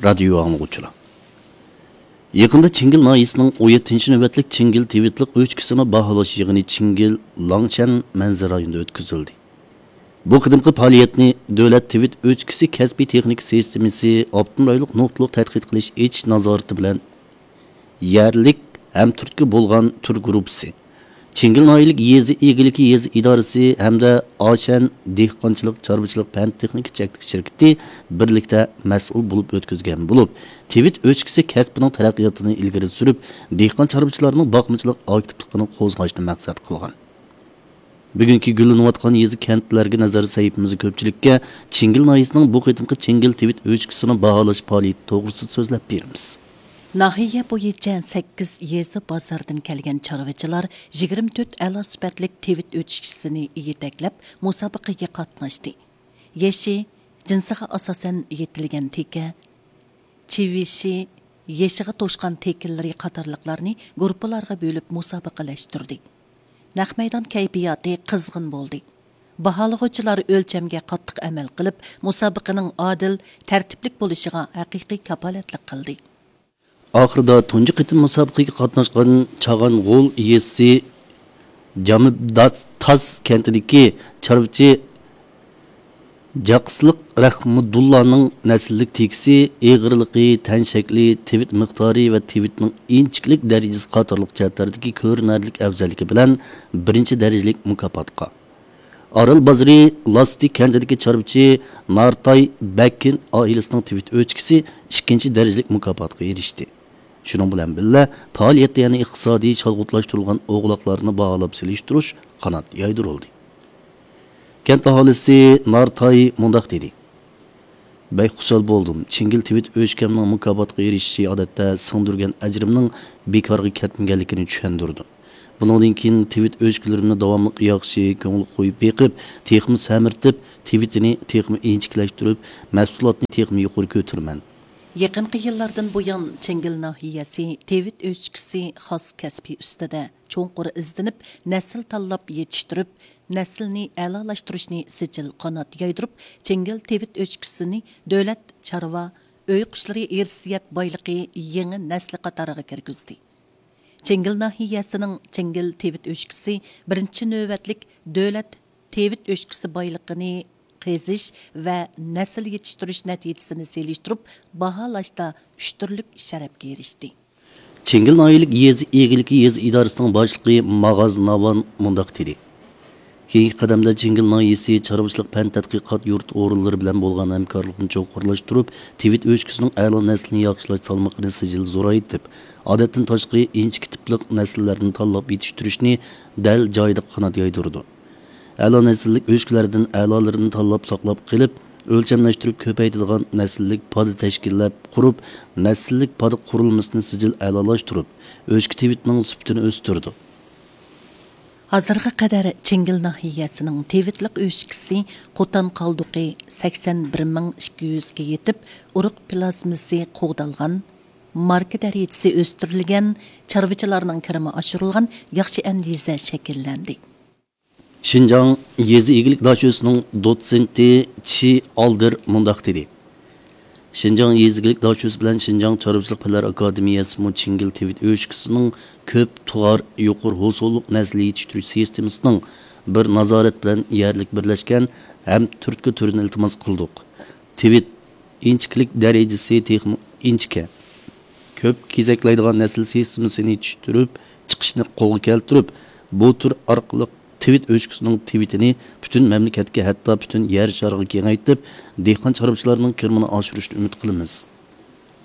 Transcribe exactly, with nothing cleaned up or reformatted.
رادىيو ئاڭلىغۇچىلار! يېقىندا چىڭگىل ناھىيەسىنىڭ ئون يەتتىنچى نۆۋەتلىك چىڭگىل تىۋىتلىق ئۆچكىسىنى باھالاش يىغىنى چىڭگىل لاڭشەن مەنزىرە رايونىدا ئۆتكۈزۈلدى. بۇ قېتىمقى پائالىيەتنى دۆلەت تىۋىت ئۆچكىسى كەسپىي تېخنىكا سىستېمىسى ئاپتونوم رايونلۇق نۇقتىلىق تەتقىق قىلىش ئېچىش نازارىتى بىلەن يەرلىك ھەم تۈرتكە بولغان تۈر گۇرۇپپىسى، چىڭگىل ناھىيەلىك يېزا ئىگىلىكى يېزا ئىدارىسى ھەمدە ئاشەن دېھقانچىلىق چارۋىچىلىق پەن تېخنىكا چەكلىك شىركىتى بىرلىكتە مەسئۇل بولۇپ ئۆتكۈزگەن بولۇپ، تىۋىت ئۆچكىسى كەسپىنىڭ تەرەققىياتىنى ئىلگىرى سۈرۈپ، دېھقان چارۋىچىلارنىڭ باقمىچىلىق ئاكتىپلىقىنى قوزغاشنى مەقسەت قىلغان. بۈگۈنكى گۈللىنىۋاتقان يېزا كەنتلەرگە نەزەر سەھىپىمىزدە كۆپچىلىككە چىڭگىل ناھىيەسىنىڭ بۇ قېتىمقى چىڭگىل تىۋىت ئۆچكىسىنى باھالاش پائالىيىتى توغرىسىدا سۆزلەپ بېرىمىز. ناھىيە بويىچە سەككىز يېزا بازاردىن كەلگەن چارۋىچىلار يىگىرمە تۆت ئەلا سۈپەتلىك تىۋىت ئۆچكىسىنى يېتەكلەپ، مۇسابىقىگە قاتناشتى. يېشى، جىنسىغا ئاساسەن يېتىلگەن تېكە، چىۋىشى، يېشىغا توشقان تېكىنلىرى قاتارلىقلارنى گۇرۇپپىلارغا بۆلۈپ مۇسابىقىلەشتۈردى. نەق مەيدان كەيپىياتى قىزغىن بولدى. باھالىغۇچىلار ئۆلچەمگە قاتتىق ئەمەل قىلىپ، مۇسابىقىنىڭ ئادىل، تەرتىپلىك بولۇشىغا ھەقىقىي كاپالەتلىك قىلدى. ئاخىرىدا تۇنجى قېتىم مۇسابىقىگە قاتناشقان چاغانغول يېزىسى جامىداس تاز كەنتىدىكى چارۋىچى جاقىسلىق رەھمىدۇللانىڭ نەسىللىك تېكىسى، ئېغىرلىقى، تەن شەكلى، تىۋىت مىقدارى ۋە تىۋىتنىڭ ئىنچىكىلىك دەرىجىسى قاتارلىق جەھەتلەردىكى كۆرۈنەرلىك ئەۋزەللىكى بىلەن بىرىنچى دەرىجىلىك مۇكاپاتقا، ئارال بازىرى لاسسى كەنتىدىكى چارۋىچى نارتاي بەككىن ئائىلىسىنىڭ تىۋىت ئۆچكىسى ئىككىنچى دەرىجىلىك مۇكاپاتقا ئېرىشتى. شۇنىڭ بىلەن بىللە، پائالىيەتتە يەنە ئىقتىسادىي چالغۇتلاشتۇرۇلغان ئوغلاقلارنى باھالاپ سېلىشتۇرۇش قانات يايدۇرۇلدى. كەنت ئاھالىسى نارتاي مۇنداق دېدى: بەك خۇشال بولدۇم. چىڭگىل تىۋىت ئۆچكەمنىڭ مۇكاپاتقا ئېرىشىشى، ئادەتتە سىڭدۈرگەن ئەجرىمنىڭ بىكارغا كەتمىگەنلىكىنى چۈشەندۈردى. بۇنىڭدىن كېيىن تىۋىت ئۆچكىلىرىمنى داۋاملىق ياخشى، كۆڭۈل قويۇپ بېقىپ، تېخىمۇ سەمرىتىپ، تىۋىتىنى تېخىمۇ ئىنچىكىلەشتۈرۈپ، مەھسۇلاتنى تېخىمۇ يۇقىرى كۆتۈرىمەن. يېقىنقى يىللاردىن بۇيان، چىڭگىل ناھىيەسى تىۋىت ئۆچكىسى خاس كەسپى ئۈستىدە چوڭقۇر ئىزدىنىپ، نەسىل تاللاپ يېتىشتۈرۈپ، نەسىلنى ئەلالاشتۇرۇشنى سىجىل قانات يايدۇرۇپ، چىڭگىل تىۋىت ئۆچكىسىنى دۆلەت چارۋا، ئۆي قۇشلىرى ئىرسىيەت بايلىقى يېڭى نەسلى قاتارىغا كىرگۈزدى. چىڭگىل ناھىيەسىنىڭ چىڭگىل تىۋىت ئۆچكىسى بىرىنچى نۆۋەتلىك دۆلەت تىۋىت ئۆچكىسى بايلىقىنى قېزىش ۋە نەسىل يېتىشتۈرۈش نەتىجىسىنى سېلىشتۇرۇپ باھالاشتا ئۈچ تۈرلۈك شەرەپكە ئېرىشتى. چىڭگىل ناھىيەلىك يېزا ئىگىلىكى يېزا ئىدارىسىنىڭ باشلىقى ماغاز ناۋان مۇنداق دېدى: كېيىنكى قەدەمدە چىڭگىل ناھىيەسى چارۋىچىلىق پەن تەتقىقات يۇرت ئورۇنلىرى بىلەن بولغان ھەمكارلىقنى چوڭقۇرلاشتۇرۇپ، تىۋىت ئۆچكىسىنىڭ ئەلا نەسلىنى ياخشىلاش سالمىقىنى سىجىل زورايتىپ، ئادەتتىن تاشقىرى ئىنچىكە تىپلىق نەسىللەرنى تاللاپ يېتىشتۈرۈشنى دەل جايىدا قانات يايدۇرىدۇ. ئەلا نەسىللىك ئۆچكىلەردىن ئەلالىرىنى تاللاپ ساقلاپ قېلىپ، ئۆلچەملەشتۈرۈپ كۆپەيتىدىغان نەسىللىك پادا تەشكىللەپ قۇرۇپ، نەسىللىك پادا قۇرۇلمىسىنى سىجىل ئەلالاشتۇرۇپ، ئۆچكە تىۋىتنىڭ سۈپىتىنى ئۆستۈرىدۇ. ھازىرغا قەدەر چىڭگىل ناھىيەسىنىڭ تىۋىتلىق ئۆچكىسى قوتان قالدۇقى سەكسەن بىر مىڭ ئىككى يۈزگە يېتىپ، ئۇرۇق پلازمىسى قوغدالغان، ماركا دەرىجىسى ئۆستۈرۈلگەن، چارۋىچىلارنىڭ كىرىمى ئاشۇرۇلغان ياخشى ئەندىزە شەكىللەندى. شىنجاڭ يېزا ئىگىلىك داشۆسىنىڭ دوتسېنتى چى ئالدېر مۇنداق دېدى: شىنجاڭ يېزا ئىگىلىك داشۆسى بىلەن شىنجاڭ چارۋىچىلىق پەنلەر ئاكادېمىيەسىمۇ چىڭگىل تىۋىت ئۆچكىسىنىڭ كۆپ تۇغار يۇقىرى ھوسۇللۇق نەسىل يېتىشتۈرۈش سىستېمىسىنىڭ بىر نازارەت بىلەن يەرلىك بىرلەشكەن ھەم تۈرتكە تۈرىنى ئىلتىماس قىلدۇق. تىۋىت ئىنچىكىلىك دەرىجىسى تېخىمۇ ئىنچىكە، كۆپ كېزەكلەيدىغان نەسىل سىستېمىسىنى يېتىشتۈرۈپ چىقىشنى قولغا كەلتۈرۈپ، بۇ تۈر ئارقىلىق تىۋىت ئۆچكىسىنىڭ تىۋىتىنى پۈتۈن مەملىكەتكە، ھەتتا پۈتۈن يەر شارىغا كېڭەيتىپ، دېھقان چارۋىچىلارنىڭ كىرىمىنى ئاشۇرۇشنى ئۈمىد قىلىمىز.